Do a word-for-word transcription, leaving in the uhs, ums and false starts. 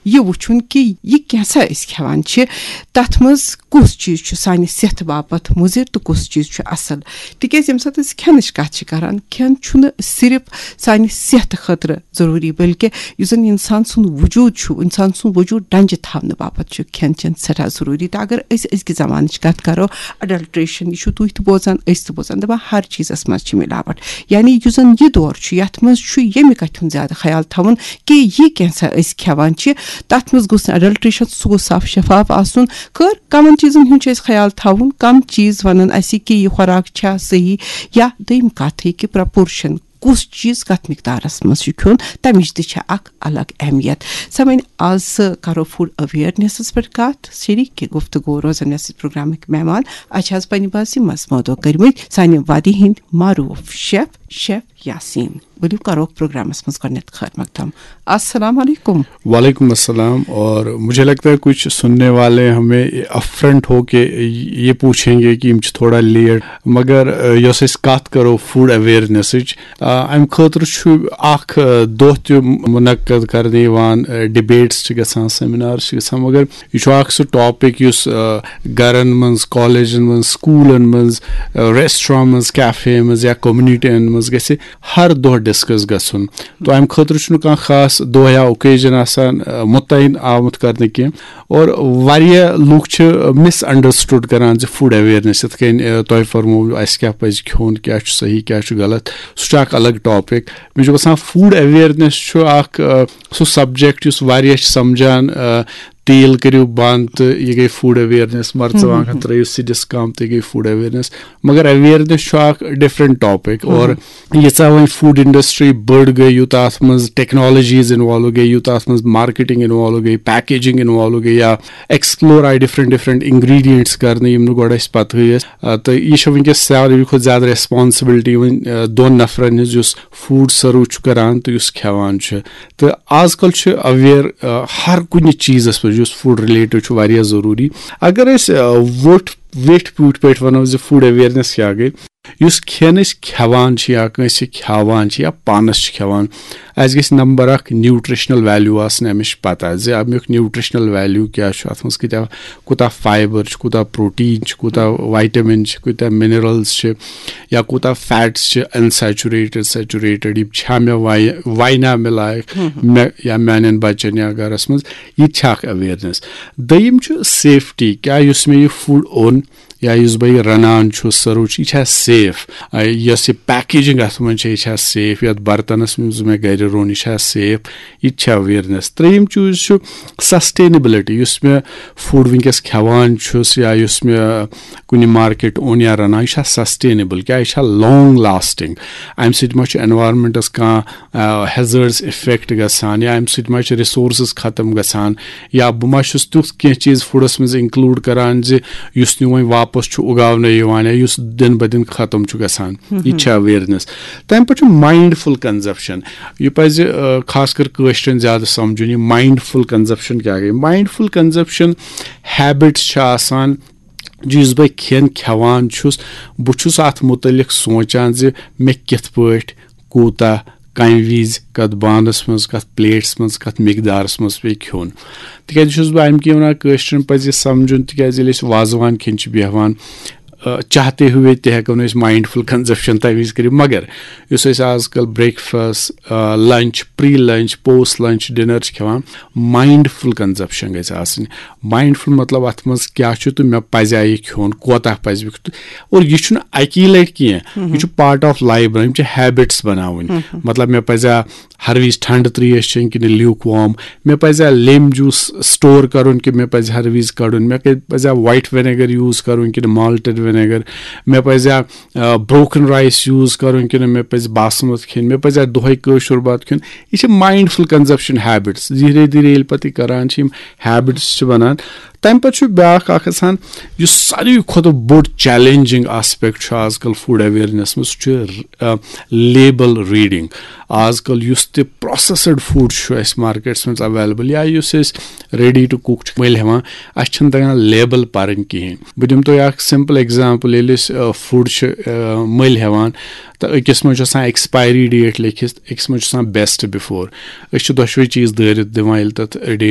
یہِ وٕچھُن کہِ یہِ کینٛژھا أسۍ کھٮ۪وان چھِ، تَتھ منٛز کُس چیٖز چھُ سانہِ صحتہٕ باپتھ مُضِر تہٕ کُس چیٖز چھُ اَصٕل۔ تِکیٛازِ ییٚمہِ ساتہٕ أسۍ کھٮ۪نٕچ کَتھ چھِ کَران، کھٮ۪ن چھُنہٕ صرف سانہِ صحتہٕ خٲطرٕ ضروٗری، بلکہِ یُس زَن اِنسان سُنٛد وجوٗد چھُ، اِنسان سُنٛد وجوٗد ڈنٛجہِ تھاونہٕ باپتھ چھُ کھٮ۪ن چٮ۪ن سٮ۪ٹھاہ ضروٗری۔ تہٕ اگر أسۍ أزکہِ زمانٕچ کَتھ کَرو، اڈلٹریشن، یہِ چھُو تُہۍ تہِ بوزان، أسۍ تہِ بوزان، دَپان ہر چیٖزَس منٛز چھِ مِلاوَٹ۔ یعنی یُس زَن یہِ دور چھُ، یَتھ منٛز چھُ ییٚمہِ کَتھِ ہُنٛد زیادٕ خیال تھاوُن کہِ یہِ کینٛژھا أسۍ کھٮ۪وان چھِ، تَتھ منٛز گوٚژھ نہٕ اڈلٹریشن، سُہ گوٚژھ صاف شفاف آسُن۔ خٲر، کَمَن چیٖزَن ہُنٛد چھُ اَسہِ خیال تھاوُن، کَم چیٖز وَنَن اَسہِ کہِ یہِ خوراک چھا صحیح، یا دوٚیِم کَتھ یہِ کہِ پرپورشن، کُس چیٖز کَتھ مقدارَس منٛز چھُ کھیوٚن، تَمِچ تہِ چھےٚ اَکھ الگ اہمیت۔ سامعیٖن، آز کَرو فوڈ اویرنیسَس پٮ۪ٹھ کَتھ۔ شریٖک گفتگو روزَن مےٚ سۭتۍ پروگرامٕکۍ مہمان۔ اَسہِ چھِ آز پنٛنہِ باسہِ منٛز مٲدٕ کٔرمٕتۍ سانہِ وادی ہِنٛدۍ معروٗف شیف، شیف یاسیٖن۔ ؤلِو کَرو پروگرامَس منٛز گۄڈٕنٮ۪تھ خٲر مقدم۔ السلام علیکم۔ وعلیکم السلام۔ اور مجھے لگتا ہے کچھ سننے والے ہمیں افرنٹ ہو کے یہ پوچھیں گے کہ یِم چھِ تھوڑا لیٹ، مگر، آ، یۄس أسۍ کتھ کرو فوڈ اویرنیسٕچ، آ، امہِ خٲطرٕ چھُ اکھ، آ، دۄہ تہِ منعقد کرنہٕ یِوان، آ، ڈبیٹس چھِ گژھان، سیمینارس چھِ گژھان، مگر یہِ چھُ اکھ سُہ ٹاپک یُس، آ، گرن منٛز، کالجن منٛز، سکوٗلن منٛز، آ، ریسٹوران منٛز، کیفے منٛز یا کومنٹین منٛز گژھِ ہر دۄہ ڈسکس گژھُن۔ تو امہِ خٲطرٕ چھُنہٕ کانٛہہ خاص دۄہ یا اوکیجن آسان، آ، متعین آمُت کرنہٕ کینٛہہ۔ اور واریاہ لُکھ چھِ مس انڈرسٹوڈ کران زِ فوڈ اویرنیس یِتھ کٔنۍ، آ، تۄہہِ فرموو اَسہِ کیٛاہ پَزِ کھیوٚن، کیٛاہ چھُ صحیح، کیٛاہ چھُ غلط، سُہ چھُ اکھ الگ ٹاپک۔ مےٚ چھُ باسان فوڈ اویرنیس چھُ اکھ، آ، سُہ سبجیکٹ یُس واریاہ چھِ سمجھان، آ، تیٖل کٔرِو بنٛد تہٕ یہِ گٔے فوڈ اویرنیس، مرژٕوانٛگن ترٲیِو سِدِس کم تہٕ یہِ گٔے فوڈ اویرنیس۔ مگر اویرنیس چھُ اکھ ڈفرنٹ ٹاپک۔ اور ییٖژاہ وۄنۍ فوڈ انڈسٹری بٔڑ گٔے، یوٗتاہ اتھ منٛز ٹیکنالوجیز انوالو گٔے، یوٗتاہ اتھ منٛز مارکیٹنگ انوالو گٔے، پیکیجنگ انوالو گٔے، یا ایکسپلور آیہِ ڈفرنٹ ڈفرنٹ انگریڈینٹس کرنہٕ، یِم نہٕ گۄڈٕ اَسہِ پتہٕے ٲسۍ۔ آ، تہٕ یہِ چھِ وٕنکیٚس ساروی کھۄتہٕ زیادٕ ریسپانسبلٹی وۄنۍ، آ، دۄن نفرن ہٕنٛز، یُس فوڈ سرو چھُ کران تہٕ یُس کھٮ۪وان چھُ۔ تہٕ آز کل چھُ اویر، آ، ہر کُنہِ چیٖزس پٮ۪ٹھ، یُس فوڈ رِلیٹڈ چھُ، واریاہ ضروٗری۔ اگر أسۍ، آ، ووٚٹھ ویٹھۍ پوٗٹھۍ پٲٹھۍ ونو زِ فوڈ اویرنیس کیٛاہ گٔے، یُس کھٮ۪ن أسۍ کھٮ۪وان چھِ یا کٲنٛسہِ کھیاوان چھِ یا پانس چھِ کھٮ۪وان، اَسہِ گژھِ نمبر اکھ نیوٗٹریشنل ویلیوٗ آسٕنۍ اَمِچ پتہ زِ اَمیُک نیوٗٹریشنل ویلیوٗ کیٛاہ چھُ، اَتھ منٛز کۭتیٛاہ، کوٗتاہ فایبر چھُ، کوٗتاہ پروٹیٖن چھُ، کوٗتاہ ویٹامن چھِ، کوٗتاہ منرلز چھِ، یا کوٗتاہ فیٹس چھِ، انسیچوریٹڈ، سیچوریٹڈ، یِم چھا مےٚ وَے-، وَینا مےٚ لایق، مےٚ یا میانٮ۪ن بچن یا گرس منٛز، یہِ تہِ چھِ اکھ اویرنیس۔ دوٚیِم چھُ سیفٹی، کیٛاہ یُس مےٚ یہِ فوڈ اوٚن یا یُس بہٕ یہِ رنان چھُس، سٔرو چھُ، یہِ چھا سیف؟ آ، یۄس یہِ پیکیجنگ اتھ منٛز چھےٚ، یہِ چھا سیف؟ یتھ برتنس منٛز مےٚ گرِ روٚن، یہِ چھا سیف؟ یہِ تہِ چھا اویرنیس۔ ترٛیٚیِم چیٖز چھُ سسٹینیبلٹی، یُس مےٚ فوڈ وٕنکیٚس کھٮ۪وان چھُس یا یُس مےٚ کُنہِ مارکیٹ اوٚن یا رنان، یہِ چھا سسٹینیبل؟ کیٛاہ یہِ چھا لانگ لاسٹنگ؟ امہِ سۭتۍ ما چھُ انوارمنٹس کانٛہہ، آ، ہیزرڈس افیکٹ گژھان، یا امہِ سۭتۍ ما چھِ رِسورسز ختم گژھان، یا بہٕ ما چھُس تیُتھ کینٛہہ چیٖز فوڈس منٛز انکلوڈ کران زِ یُس نہٕ وۄنۍ واپس چھُ اُگاونہٕ یِوان یا یُس دِن بہ دِن ختم چھُ گژھان۔ یہِ تہِ چھِ اویرنیس۔ تمہِ پتہٕ چھُ ماینڈفُل کنزپشن۔ یہِ پزِ، آ، خاص کر کٲشرٮ۪ن زیادٕ سمجھُن، یہِ ماینڈفُل کنزپشن کیٛاہ گٔے؟ ماینڈفُل کنزپشن ہیبٹس چھِ آسان، یُس بہٕ کھٮ۪ن کھٮ۪وان چھُس، بہٕ چھُس اتھ متعلق سونٛچان زِ مےٚ کِتھ پٲٹھۍ، کوٗتاہ، کمہِ وِزِ، کتھ بانس منٛز، کتھ پلیٹس منٛز، کتھ مقدارس منٛز پیٚیہِ کھیوٚن۔ تِکیازِ چھُس بہٕ امہِ کِنۍ ونان، کٲشرٮ۪ن پزِ یہِ سمجھُن، تِکیازِ ییٚلہِ أسۍ وازوان کھٮ۪ن چھِ بیٚہوان، آ، چاہتے ہوئے تہِ ہٮ۪کو نہٕ أسۍ ماینڈفُل کنزپشن تمہِ وِزِ کٔرِتھ، مگر یُس أسۍ آز کل بریکفاسٹ، آ، لنچ، پری لنچ، پوسٹ لنچ، ڈنر چھِ کھٮ۪وان، ماینڈفُل کنزپشن گژھِ آسٕنۍ۔ ماینڈفُل مطلب اتھ منٛز کیٛاہ چھُ تہٕ مےٚ پزیٛا یہِ کھیوٚن، کوتاہ پزِ مےٚ کھیوٚن۔ اور یہِ چھُنہٕ اکی لٹہِ کینٛہہ، یہِ چھُ پارٹ آف لایف بنان، یِم چھِ ہیبٹس بناوٕنۍ۔ مطلب، مےٚ پزیٛا ہر وِزِ ٹھنڈٕ ترٛیش چیٚنۍ کِنہٕ لیوک وارم؟ مےٚ پزیٛا لیمبۍ جوٗس سٹور کرُن کِنہٕ مےٚ پزِ ہر وِزِ کڑُن؟ مےٚ کَتہِ پزیٛا وایٹ وِنیگر یوٗز کرُن کِنہٕ مالٹڈ وِنیگر؟ مےٚ پزیٛا، آ، بروکن رایس یوٗز کرُن کِنہٕ مےٚ پزِ باسمت کھیٚنۍ؟ مےٚ پزیٛا دۄہے کٲشُر بتہٕ کھیوٚن؟ یہِ چھِ ماینڈفُل کنزپشن ہیبٹس۔ دھیرے دھیرے ییٚلہِ پتہٕ یہِ کران چھِ، یِم ہیبٹس چھِ بنان۔ تمہِ پتہٕ چھُ بیٛاکھ اکھ آسان، یُس ساروی کھۄتہٕ بوٚڑ چیلنجنگ آسپیکٹ چھُ آز کل فوڈ اویرنیس منٛز، سُہ چھُ، آ، لیبل ریڈنگ۔ آز کل یُس تہِ پروسیسڈ فوڈ چھُ اَسہِ مارکیٹس منٛز اویلیبل یا یُس أسۍ ریڈی ٹو کُک چھِ مٔلۍ ہٮ۪وان، اَسہِ چھِنہٕ تگان لیبل پرٕنۍ کِہینۍ۔ بہٕ دِمہٕ تۄہہِ اکھ سمپل ایگزامپل، ییٚلہِ أسۍ، آ، فوڈ چھِ، آ، مٔلۍ ہٮ۪وان، تہٕ أکِس منٛز چھُ آسان ایکسپایری ڈیٹ لیکھِتھ، أکِس منٛز چھُ آسان بیسٹ بِفور۔ أسۍ چھِ دۄشوے چیٖز دٲرِتھ دِوان، ییٚلہِ تَتھ ڈیٹ